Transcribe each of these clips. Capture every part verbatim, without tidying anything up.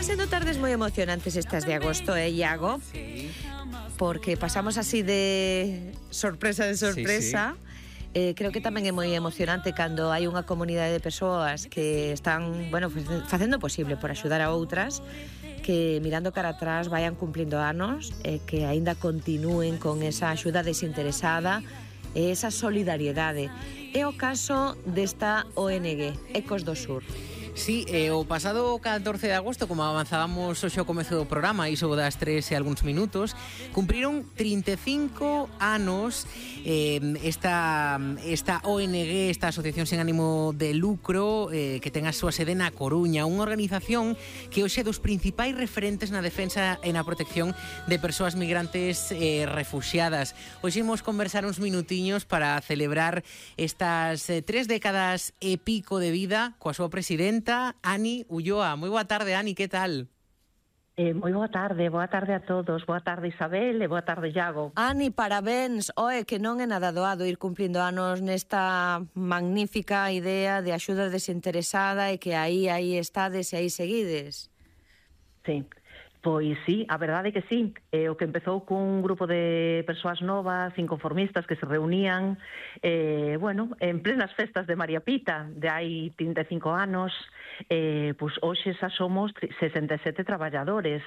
sendo tardes moi emocionantes estas de agosto, eh, Iago? Sí. Porque pasamos así de sorpresa de sorpresa. Sí, sí. Eh, creo que tamén é moi emocionante cando hai unha comunidade de persoas que están, bueno, facendo o posible por axudar a outras, que mirando cara atrás vayan cumplindo anos, e eh, que aínda continúen con esa axuda desinteresada e esa solidariedade. É o caso desta O N G, Ecos do Sur. Sí, eh, o pasado catorce de agosto, como avanzábamos hoxe ao comezo do programa, iso das tres e algúns minutos, cumpriron trinta e cinco anos eh, esta, esta O N G, esta Asociación Sen Ánimo de Lucro, eh, que ten a súa sede na Coruña, unha organización que hoxe é dos principais referentes na defensa e na protección de persoas migrantes e eh, refuxiadas. Hoxe imos conversar uns minutiños para celebrar estas eh, tres décadas e pico de vida coa súa presidenta, Ani Ulloa. Moi boa tarde, Ani, que tal? Eh, moi boa tarde, boa tarde a todos. Boa tarde, Isabel, e boa tarde, Iago. Ani, parabéns. Oe, que non é nada doado ir cumplindo anos nesta magnífica idea de axuda desinteresada e que aí, aí estades e aí seguides. Sí. Pois sí, a verdade é que sí. Eh, o que empezou cun grupo de persoas novas, inconformistas, que se reunían, eh, bueno, en plenas festas de María Pita, de hai trinta e cinco anos, eh, pois hoxe xa somos sesenta e sete traballadores.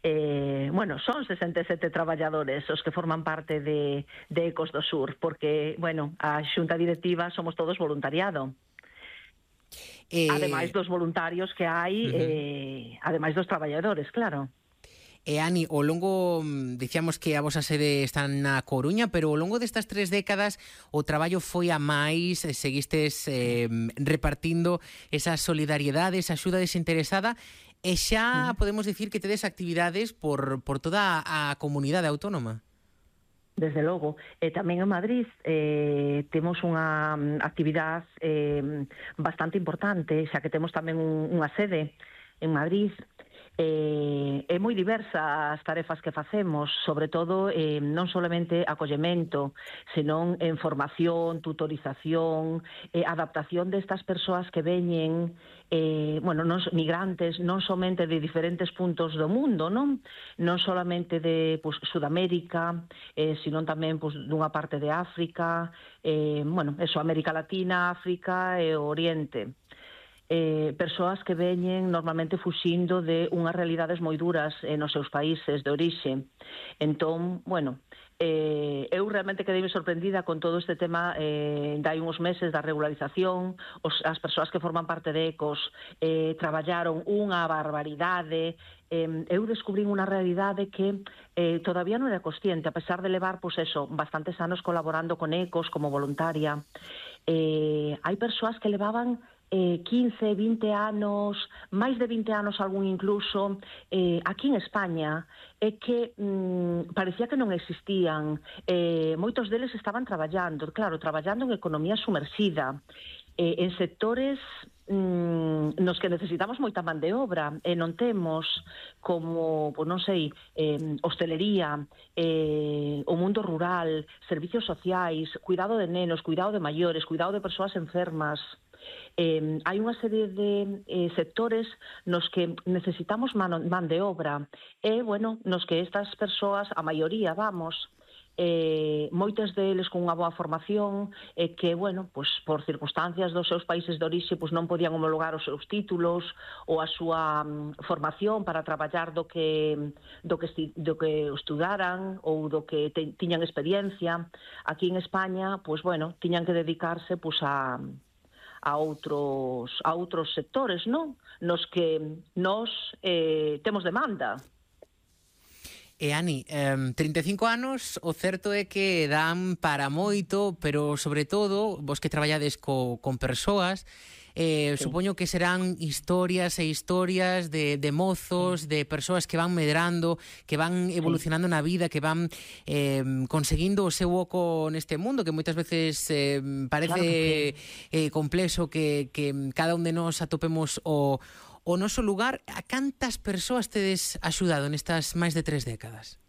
Eh, bueno, son sesenta e sete traballadores os que forman parte de, de Ecos do Sur, porque, bueno, a xunta directiva somos todos voluntariado. Eh... Ademais dos voluntarios que hai, uh-huh. eh, ademais dos traballadores, claro. E Ani, ao longo, dicíamos que a vosa sede está na Coruña, pero ao longo destas tres décadas o traballo foi a máis, seguistes eh, repartindo esa solidariedade, esa axuda desinteresada, e xa uh-huh. podemos dicir que tedes actividades por, por toda a comunidade autónoma. Desde logo. E tamén en Madrid eh, temos unha actividade eh, bastante importante, xa que temos tamén un, unha sede en Madrid. Eh, é moi diversa as tarefas que facemos, sobre todo eh, non solamente acollemento, senón en formación, tutorización, eh, adaptación destas persoas que veñen, eh, bueno, non, migrantes, non somente de diferentes puntos do mundo, non non solamente de pues, Sudamérica, eh, senón tamén pues, dunha parte de África, eh, bueno, eso, América Latina, África e o Oriente. Eh, persoas que veñen normalmente fuxindo de unhas realidades moi duras eh, nos seus países de orixe. Entón, bueno, eh, eu realmente quedei sorprendida con todo este tema eh, de hai uns meses da regularización. Os, as persoas que forman parte de Ecos eh, traballaron unha barbaridade. Eh, eu descubrín unha realidade que eh, todavía non era consciente, a pesar de levar, pois eso, bastantes anos colaborando con Ecos como voluntaria. Eh, hai persoas que levaban Eh, quince, vinte anos, máis de vinte anos algún incluso, eh, aquí en España, é que mm, parecía que non existían. Eh, moitos deles estaban traballando, claro, traballando en economía sumerxida, eh, en sectores mm, nos que necesitamos moita man de obra, e non temos como, pues, non sei, eh, hostelería, eh, o mundo rural, servicios sociais, cuidado de nenos, cuidado de maiores, cuidado de persoas enfermas. Eh, hai unha serie de eh, sectores nos que necesitamos man, man de obra e, bueno, nos que estas persoas, a maioría, vamos, eh, moitos deles con unha boa formación e eh, que, bueno, pues, por circunstancias dos seus países de orixe pues, non podían homologar os seus títulos ou a súa um, formación para traballar do que, do que, do que estudaran ou do que te, tiñan experiencia. Aquí en España, pues, bueno, tiñan que dedicarse pues, a... a outros a outros sectores, non? Nos que nós eh, temos demanda. E Ani, eh, trinta e cinco anos, o certo é que dan para moito, pero sobre todo, vos que traballades co, con persoas, eh, sí. Supoño que serán historias e historias de, de mozos, de persoas que van medrando, que van evolucionando sí. na vida, que van eh, conseguindo o seu oco neste mundo, que moitas veces eh, parece claro que sí. eh, complexo que, que cada un de nós atopemos o o noso lugar. A cantas persoas tedes axudado nestas máis de tres décadas?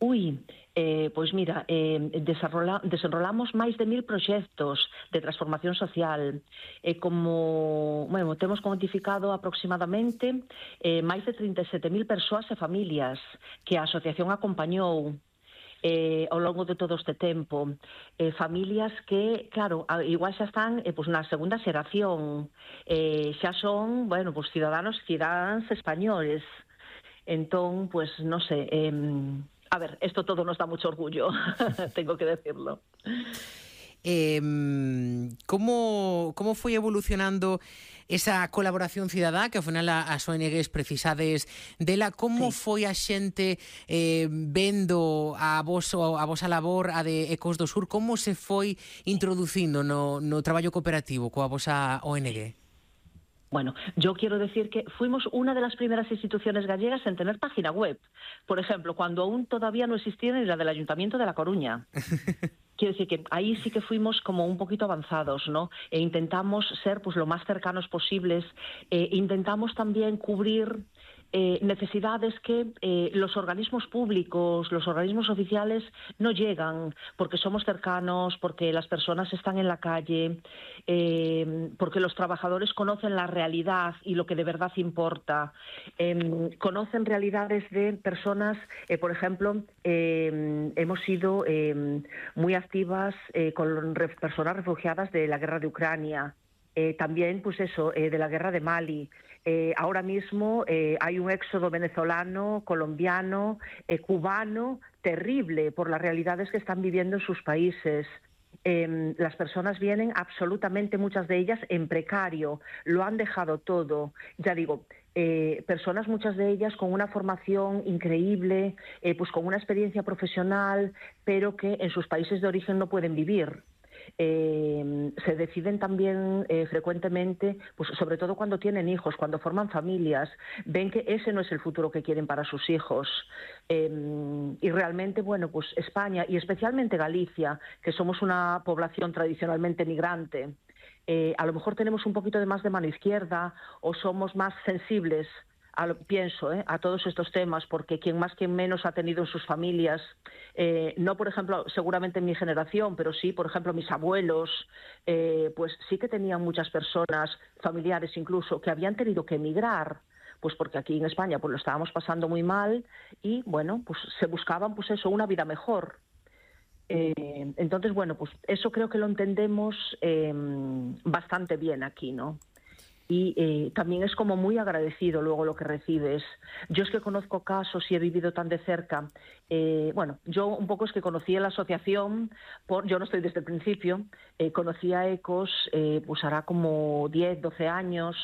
Ui, eh, pois mira, eh, desenrola, desenrolamos máis de mil proxectos de transformación social. E eh, como, bueno, temos cuantificado aproximadamente eh, máis de trinta e sete mil persoas e familias que a asociación acompañou eh, ao longo de todo este tempo. Eh, familias que, claro, igual xa están eh, pues, na segunda xeración, eh, xa son, bueno, pues, cidadanos e cidadáns españoles. Entón, pues, non sei... Eh, A ver, esto todo nos da mucho orgullo, tengo que decirlo. Eh, como, como foi evolucionando esa colaboración cidadá que ao final as O N Gs precisades dela? Como sí. foi a xente eh, vendo a vosa, a vosa labor, a de Ecos do Sur? Como se foi introducindo no, no traballo cooperativo coa vosa O N G? Bueno, yo quiero decir que fuimos una de las primeras instituciones gallegas en tener página web. Por ejemplo, cuando aún todavía no existía ni la del Ayuntamiento de La Coruña. Quiero decir que ahí sí que fuimos como un poquito avanzados, ¿no? E intentamos ser pues lo más cercanos posibles. Eh, intentamos también cubrir eh, necesidades que eh, los organismos públicos, los organismos oficiales no llegan, porque somos cercanos, porque las personas están en la calle, eh, porque los trabajadores conocen la realidad y lo que de verdad importa. Eh, conocen realidades de personas, eh, por ejemplo, eh, hemos sido eh, muy activas eh, con re- personas refugiadas de la guerra de Ucrania, eh, también, pues eso, eh, de la guerra de Mali. Eh, ahora mismo eh, hay un éxodo venezolano, colombiano, eh, cubano, terrible por las realidades que están viviendo en sus países. Eh, las personas vienen absolutamente, muchas de ellas, en precario, lo han dejado todo. Ya digo, eh, personas, muchas de ellas, con una formación increíble, eh, pues con una experiencia profesional, pero que en sus países de origen no pueden vivir. Eh, se deciden también eh, frecuentemente, pues sobre todo cuando tienen hijos, cuando forman familias, ven que ese no es el futuro que quieren para sus hijos. Eh, y realmente, bueno, pues España y especialmente Galicia, que somos una población tradicionalmente migrante, eh, a lo mejor tenemos un poquito de más de mano izquierda o somos más sensibles, a lo, pienso, ¿eh? a todos estos temas, porque quien más, quien menos ha tenido en sus familias, eh, no, por ejemplo, seguramente en mi generación, pero sí, por ejemplo, mis abuelos, eh, pues sí que tenían muchas personas, familiares incluso, que habían tenido que emigrar, pues porque aquí en España pues lo estábamos pasando muy mal y, bueno, pues se buscaban, pues eso, una vida mejor. Eh, entonces, bueno, pues eso creo que lo entendemos eh, bastante bien aquí, ¿no? Y eh, también es como muy agradecido luego lo que recibes. Yo es que conozco casos y he vivido tan de cerca. Eh, bueno, yo un poco es que conocí a la asociación, por, yo no estoy desde el principio, eh, conocí a Ecos, eh, pues hará como diez, doce años,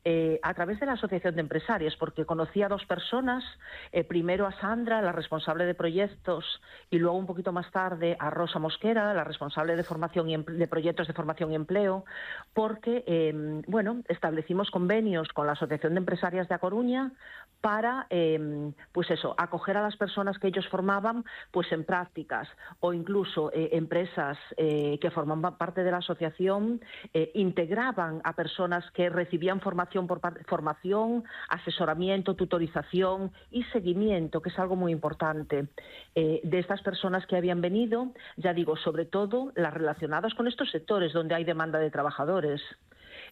eh, a través de la Asociación de Empresarias, porque conocí a dos personas, eh, primero a Sandra, la responsable de proyectos, y luego un poquito más tarde a Rosa Mosquera, la responsable de, formación y de proyectos de formación y empleo, porque, eh, bueno, establecimos convenios con la Asociación de Empresarias de A Coruña para, eh, pues eso, acoger a las personas que ellos formaban pues en prácticas o incluso eh, empresas eh, que formaban parte de la asociación eh, integraban a personas que recibían formación por formación, asesoramiento, tutorización y seguimiento, que es algo muy importante. Eh, de estas personas que habían venido, ya digo, sobre todo las relacionadas con estos sectores donde hay demanda de trabajadores.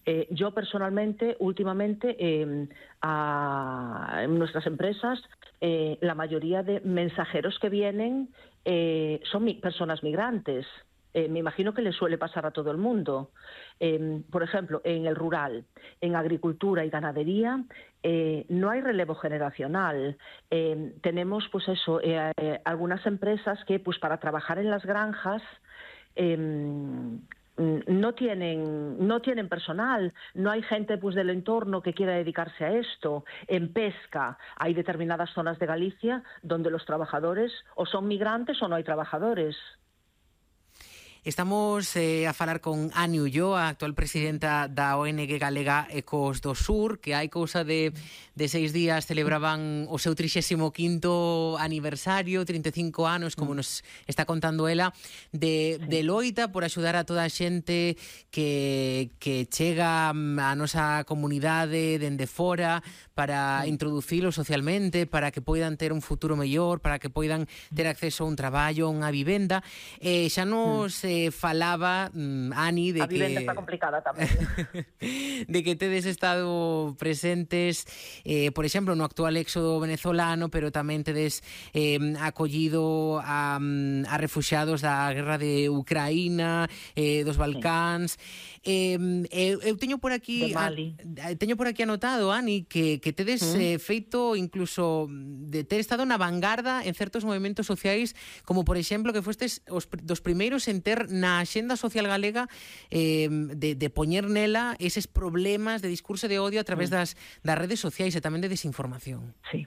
Eh, yo personalmente, últimamente, eh, a, en nuestras empresas, eh, la mayoría de mensajeros que vienen eh, son mi, personas migrantes. Eh, me imagino que les suele pasar a todo el mundo. Eh, por ejemplo, en el rural, en agricultura y ganadería, eh, no hay relevo generacional. Eh, tenemos, pues eso, eh, eh, algunas empresas que, pues para trabajar en las granjas, eh, no tienen, no tienen personal, no hay gente pues del entorno que quiera dedicarse a esto. En pesca hay determinadas zonas de Galicia donde los trabajadores o son migrantes o no hay trabajadores. Estamos eh, a falar con Ani Ulloa, actual presidenta da O N G galega Ecos do Sur, que hai cousa de, de seis días celebraban o seu trixésimo quinto aniversario, trinta e cinco anos, como nos está contando ela, de, de loita por axudar a toda a xente que, que chega á nosa comunidade dende fora para introducilo socialmente, para que poidan ter un futuro mellor, para que poidan ter acceso a un traballo, a unha vivenda. Eh, xa nos eh, falaba, mm, Ani, de a vivenda que... está complicada tamén. de que tedes estado presentes, eh, por exemplo, no actual éxodo venezolano, pero tamén tedes eh, acollido a, a refuxiados da guerra de Ucraína, eh, dos Balcáns. Eh, eu, eu teño por aquí a, teño por aquí anotado, Ani, que, que tedes mm. eh, feito incluso de ter estado na vanguarda en certos movimentos sociais, como por exemplo que fostes os dos primeiros en ter na axenda social galega eh, de, de poñer nela eses problemas de discurso de odio a través mm. das, das redes sociais e tamén de desinformación. Sí.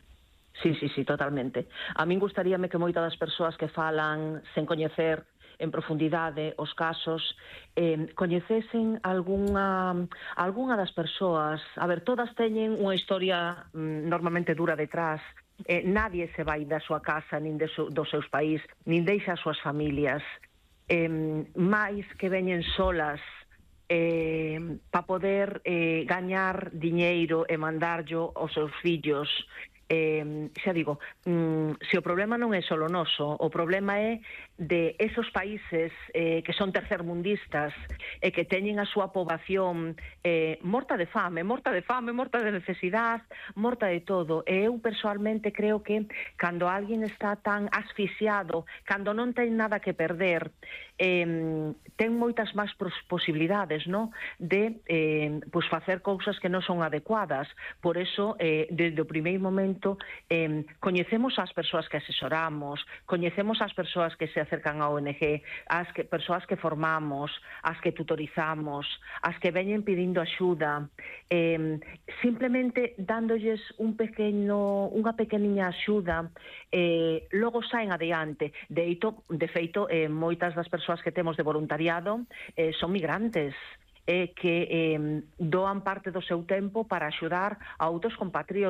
Sí, sí, sí, totalmente. A min gustaríame que moitas das persoas que falan sen coñecer en profundidade os casos, eh, coñecesen algunha, algunha das persoas. A ver, todas teñen unha historia mm, normalmente dura detrás. Eh, nadie se vai da súa casa, nin de su, dos seus país, nin deixa as súas familias. Eh, máis que veñen solas eh, para poder eh, gañar diñeiro e mandarllo aos seus fillos. Eh, xa digo, mm, se o problema non é só o noso, o problema é de esos países eh, que son tercermundistas e que teñen a súa poboación eh, morta de fame, morta de fame, morta de necesidade, morta de todo. E eu personalmente creo que cando alguén está tan asfixiado, cando non ten nada que perder, eh, ten moitas máis posibilidades, no? de eh, pues facer cousas que non son adecuadas. Por eso, eh, desde o primeiro momento, eh, coñecemos as persoas que asesoramos, coñecemos as persoas que se acercan á O N G, as que, persoas que formamos, as que tutorizamos, as que veñen pedindo axuda, eh, simplemente dándolles un pequeno, unha pequeniña axuda, eh, logo saen adiante. De, heito, de feito, eh, moitas das persoas que temos de voluntariado eh, son migrantes, eh, que eh, doan parte do seu tempo para axudar a outros compatriotas